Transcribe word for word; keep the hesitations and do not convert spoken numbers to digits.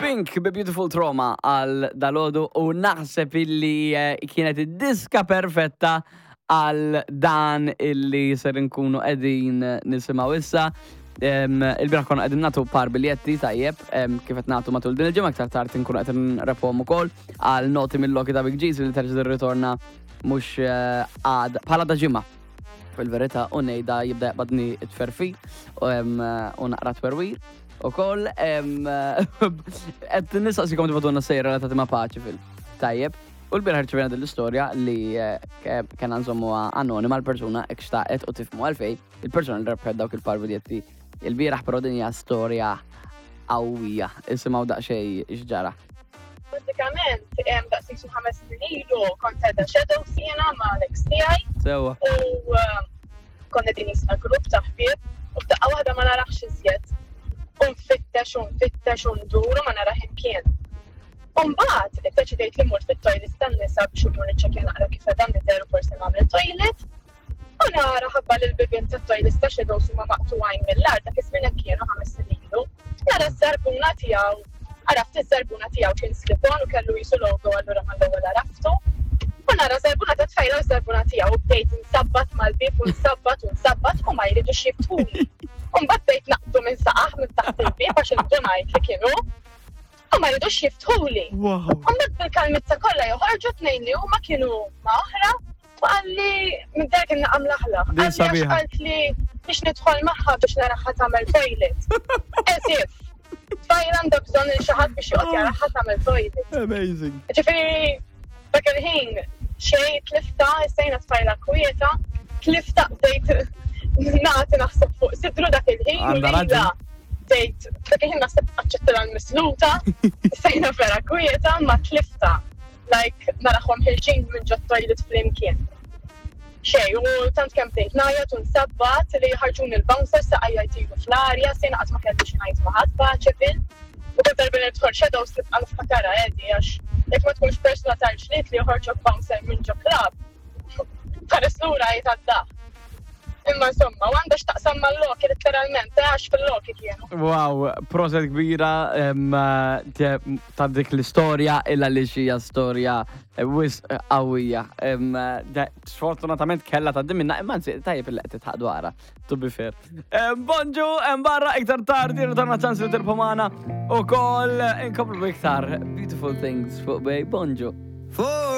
Pink bi Beautiful Trauma għal dalgħodu u naħseb illi eh, kienet id-diska perfetta għal dan illi ser nkunu qegħdin nisimgħu issa. Em, Il-bieraħ konna qegħdin nagħtu par biljetti tajjeb, em, kif qed nagħtu matul din il-ġimgħa, aktar tard nkunu qed nrebħuhom ukoll għal Noti mill-Loki ta' Big G's li terġa' tirritorna mhux eh, għad bħala da ġimgħa fil-verità, u ngħidha jibda jaqbadni t-tferfi u em, u naqra twerwir. U koll, qed nistaqsikom tibagħtulna stejjer relatati ma' Paceville. Tajjeb. U l-bieraħ rċevejna din l-istorja li eh, ke- kena nżommuha anonima l-persuna jekk xtaqet u tifhmu għalfejn il-persuna li rebħet dawk il-par biljetti il-bieraħ, però din hija storja qawwija. Isimgħu daqsxejn x'ġara. Pratikament, hemm daqs xi ħames snin ilu kont qiegħda Shadows jiena ma' l-ex tiegħi Sewa. u um, konna din jisna grupp ta' ħbieb u f'daqqa waħda ma narax iżjed. U nfittex u nfittex u ndur u ma narax imkien. U mbagħad iddeċidejt li mmur fit-toilet tan-nisa biex imur niċċekkja naqra kif qed nidher u forsi nagħmel toilet. U nara ħabba li l-bibien tat-toilet ta' Shadows huma maqtugħin mill-art, dak iż-żmien hekk kienu, ħames snin ilu. Nara z-żarbuna tiegħu, għaraft iż-żarbuna tiegħu, kien slip-on u kellu jisu logo, allura mal-ewwel għaraftu. U nara żarbuna ta' tfajla u żarbuna tiegħu u bdejt nsabbat mal-bib u nsabbat u nsabbat u ma jridux jiftħuli. U mbagħad bdejt naqbdu minn saqajh minn taħt il-bib għax indunajt li kienu u ma jridux jiftħuli. Wow. U mbagħad bil-kalmizza kollha joħorġu tnejn li huma kienu ma' oħra u qalli minn dak kien naqam laħlaħ. Din Qalli għax sabiħa. qalt li biex nidħol magħha biex naraha tagħmel toilet. As if. Tfajla għandha bżonn il xi ħadd biex joqgħod jaraha tagħmel toilet. Amazing. Ġifieri, dak il-ħin, xej tlifta, sejna tfajla kwieta, tlifta, bdejt nagħti naħseb fuq sidru dak il-ħin. U Għandha lila raġun. bdejt, dak il-ħin naħseb aċċettila l-misluta, sejna vera kwieta, ma tlifta. Like, narahom ħerġin minn ġo toilet flimkien. Xej, u tant kemm bdejt ngħajjat u nsabbat li ħarġuni l-bouncer, saqajja jtiru fl-arja, sejna qatt ma kelli xi ngħid ma' ħadd Paceville. U kull darba li nidħol Shadows tibqa' niftakarha Eddie, għax jekk ma tkunx persuna tal-ġlied li joħorġok bouncer minn ġo club, tħares lura jitgħadda. Imma insomma, u għandha x'taqsam mal-Loki letteralment, eh, għax fil-Loki kienu. Wow, proset kbira em, te- ta' dik l-istorja illa li xija storja eh, wisq qawwija. Em, de- Sfortunatament kella ta' minna, imma anzi tajjeb il qed titħaq dwarha, to be fair. Em, Bonġu, em barra iktar tardi, ritorna ċans li tirbħu magħna u koll inkomplu iktar beautiful things fuq Bay. Bonġu. For